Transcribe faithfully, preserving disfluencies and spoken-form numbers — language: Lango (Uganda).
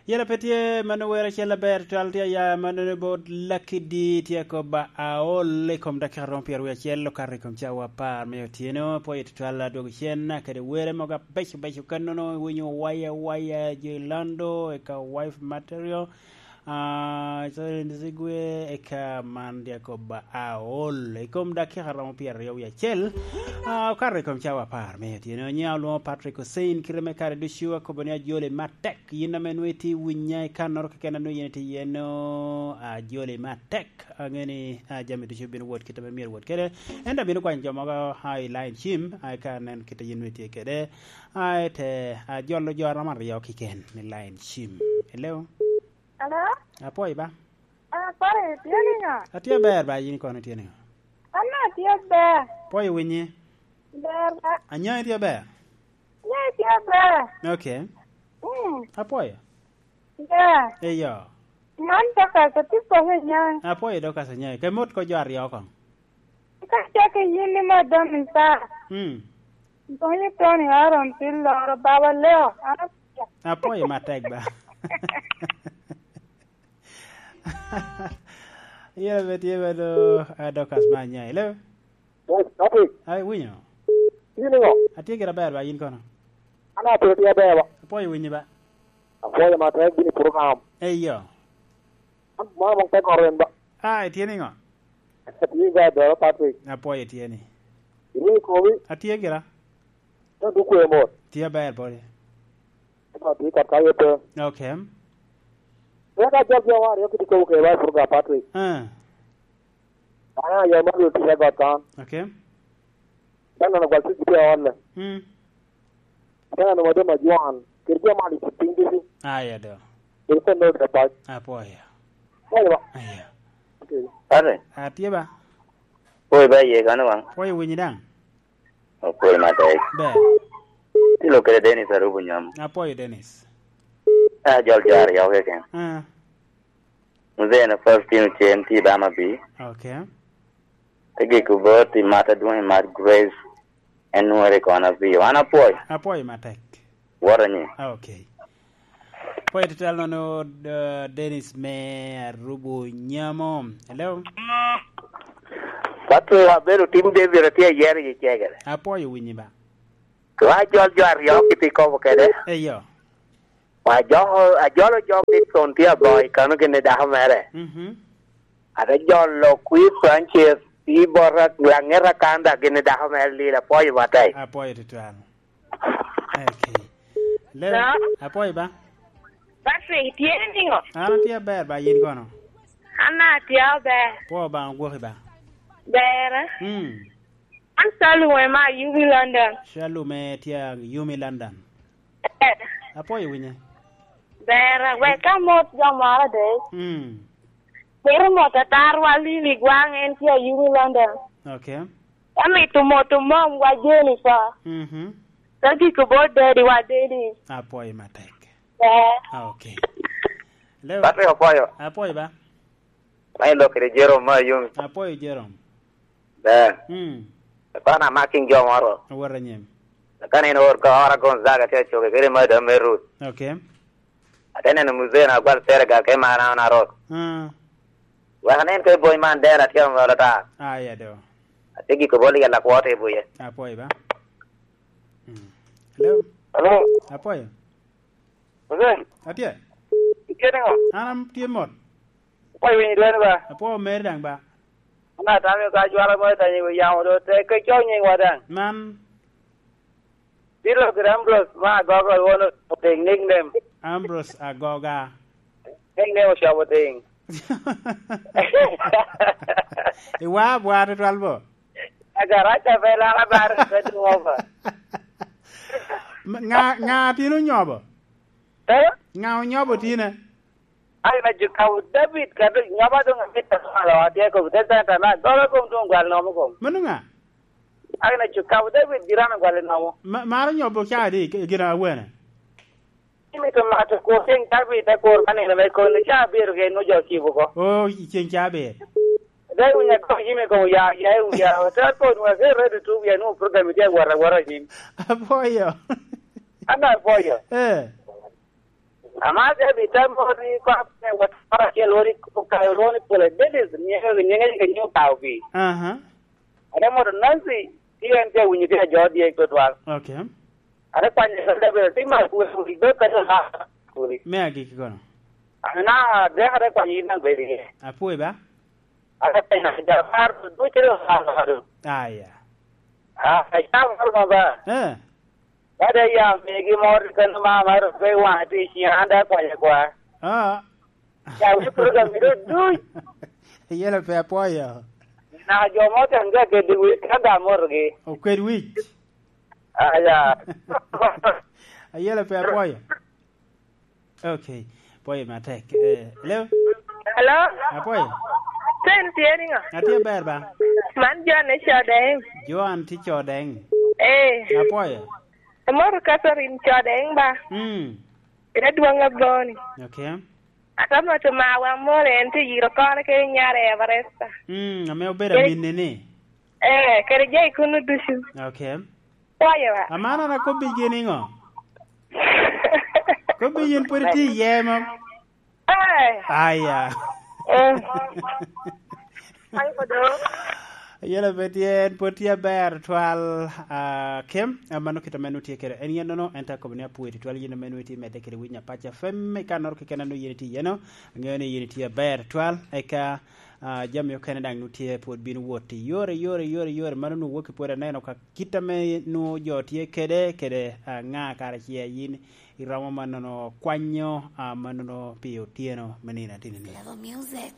Yela pe tye mano wer acel aber twal tye aya mano bot Lucky D tye kobba aol i kom dakika romo pyero wiye acel okato i kom cawa apar me otyeno. Apwoyo tutwal adwogo cen kede were mogo abeco beco kannono iwinyo waya waya jo i Lando eka wife material. Ah, so in zigwe eka man dya kobba aol i kom dakika romo pyero aryo wiye acel. Ah, okato i kom cawa apar me otyeno. Nya olwoŋo Patrick Hussein kite me kare ducu akobo ni ajoli matek. Yin ame nwoŋo itye winya i kannoro keken a nwoŋo yin itye iye no, ajoli matek. Ange ni, ah, jami ducu bino wot kit ame myero wot kede. Ento abino kwanyo jo mogo, ah, i line cim, ah, eka anen kit a yin nwoŋo itye kede. Ah, ete, ah, jolo jo aromo aryo kiken i line cim. Hello? Hello? Apwoyo ba? Ah, pare, itye niŋo? Atye aber ba, yin kono itye niŋo? An atye ber. Pwoyo winyi? Ber ba. Anya itye ber? Anya itye ber. Okay. Mm. Apwoyo. Ber. Eyo. Man Dorcas atye kome i nyaŋ. Apwoyo Dorcas anyaŋ. Ke mot ko jo aryo koŋ. Ka cak i yin ni madam i saa. Mm. Donyo Tony Aaron pi loro baba Leo. An apwoyo. Apwoyo matek ba. Yela be tye ba do, ah, Dorcas ma anya. Hello? Yes, Patrick. Ai, winyo. Yin iŋo? Atye gira ber ba, yin kono? An atye tye aber ba. Apwoyo winyi ba. Apwoyo matek gini program. Eyo. An mama mong te koro en ba. Ah, itye niŋo? Atye ga doro Patrick. Apwoyo itye ni. Iwinyo komi? Atye gira. Ka duk kwe mot. Tye aber pwod. Ka tye kat ka yete. Okay. Wek ajol jo aryo kiti kobo kede ba program Patrick. Ah. Aya, ya ma dul tye got kan. Okay. Kan neno gwal tye gitye ot le. Mm. Kan neno madam ajwan. Kede jo mali piny ducu. Aya do. Kede kon neno de pac. Apwoyo. Apwoyo ba. Aya. Okay. Ate. Atye ba. Pwoyo ba iye kano wang. Pwoyo winyi daŋ. Opwoyo matek. Ber. Tilo kede Dennis Arubu Nyom. Apwoyo Dennis. Ah, jol jo aryo keken. Ah. Mzee na first team cen ti dama bi. Okay. Te giko bot i mat adwoŋ i mat Grace. En nwere kona bi. Wan apwoyo. Apwoyo matek. Woro nyi. Ah, okay. Pwoyo tutwal nono, uh, Dennis me Arubu Nyamo. Hello? Pato abedo tim David atye ayero i cegere. Apwoyo winyi ba. Wa jol jo aryo kiti kobo kede. Eyo. Wa jo, ajolo jo Dixon tye aboŋo i kano gin i dako mere. Mhm. Ate jolo Queen Francis i bota laŋeta Kanda gin i dako mere Lila, apwoyo matek. Apwoyo tutwal. Okay. Leo, Hello? Apwoyo ba? Patrick, itye niŋo? An atye aber ba, yin kono? An atye aber. Pwo ba, ogwoki ba? Bera. Mm. An Shalom ema ayubi London. Shalom e tye a yumi London. Eh. Apwoyo winye. Bera, wek ka mot jo moro de. Mm. Mito mot atarwa Lili Gwaŋ, en tye a yumi London. Okay. Amito moto momwa Jennifer. Mhm. Ka giko bot daddy wa Dennis. Apwoyo matek. Eh. Ah, okay. Leo. Patrick Opoyo. Apwoyo ba? Ma ilokere Jerome ma Ayumi. Apwoyo Jerome. Ber. Mm. Kwan amaking jo moro. Awot anyim. Ka nino or ka ora Gonzaga tye acoke kede madam me Ruth. Okay. Ate neno muzee na gwal Senegal ke mara na rot. Ah. Wek anen ke boy man dera tye ŋolo ta. Ah, ya do. Ate giko bol yalla kwo te buye. Apwoyo ba? Mm. Hello? Hello? Apwoyo. Muzee? Atye. Itye niŋo? An am tye mot. Apwoyo winyi dwani ba? Apwoyo meri daŋ ba? An atamo ka jwara mo itanyi wi yamo do te ke cok nying wa daŋ. Man. Bilo kede Ambrose ma Agoga wono otiŋ nickname. Ambrose Agoga. Nickname Ocobo Tiŋ. Iwa abwa tutwal bo. Agaraca pe lara bar pe duŋ ova. Ŋa, ŋa tin onyobo? Eh? Ŋa onyobo tine? Ai, na Jukabu David, kadi nyoba doŋ amito malo, atye kobo te centa na, gogo kom doŋ gwal nomo kom. Mano ŋa? Ai, na Jukabu David, jirano gwal nomo. Ma-, maro nyobo ca adi, gin awene? Imito mato kur ceng cabit, te kur ka nino me kono, ca abiro gen ojo cibo ko. Oh, ceng cabit. Dai winya ko yime ko ya, ya, ya, te ko nwa ke ready to, ya, no program, ya, wara, wara, nyim. Apwoyo. An apwoyo. Eh. Ama David te mot i kwap me wot moro acel wot i Okayo lwongo ni Pule Davis, nyiŋe, nyiŋe ka nyo Okayo pi. Aha. Ate moto Nancy, ti en te winyo ti ajo dyek tutwal. Okay. Ate kwanyo ka David, ti ma kuli, kuli, dok ka dok ha, kuli. Me agikki kono. Ana, dek ate kwanyo in abedo iye. Apwoyo ba? Ate penyo, ja par, duc ate ha, ha, ha. Aya. Ah, ja par ma ba. Eh. Ka dok ya megi moro kene ma, ma rik pe waŋe tye i ciŋa, an dok akwayo akwa. Ah. Ya wi program iro duc. Yelo pe apwoyo. Na jo mo ten ga kede wic, ka ga motogi. Okwed wic. Ah, ya. Ayelo pe apwoyo. Okay. Pwoyo matek. Eh, hello? Hello? Apwoyo. Sen tye niŋo? Atye ber ba? Man Joan i Codeng. Joan tye Codeng. Eh. Apwoyo. Emoto Catherine Codeng ba? Mm. Ira dwoŋ aboni. Okay. Atamo to mawa moro en tye yiro kore kede nyare Everesta. Mm, ame obedo Kede aminne ni? Eh, kede jai kunu ducu. Okay. Pwoyo wa. Amana na kobbi gini ŋo? Kobbi yin pwod itye iye mom? Eh. Aya. Eh. Ayelo pe tye, en pwod tye aber twal, ah, Kim, ah, mano kit ame nutye kede. En yen nono, en te akobo ni apwoyo tutwal yin ame nutye medde kede winyo Apac F M, i kannoro keken anu yin itye iye no, aŋeo ni yin itye aber twal, eka, ah, jami okene daŋ nutye pwod bino wot i yore, yore, yore, yore, mano nu woki pwod aneno ka kit ame nu jo tye kede, kede, ah, ŋa kara ce yin iromo mannono kwanyo, ah, mannono pi otyeno me nino atini ni. Level Music.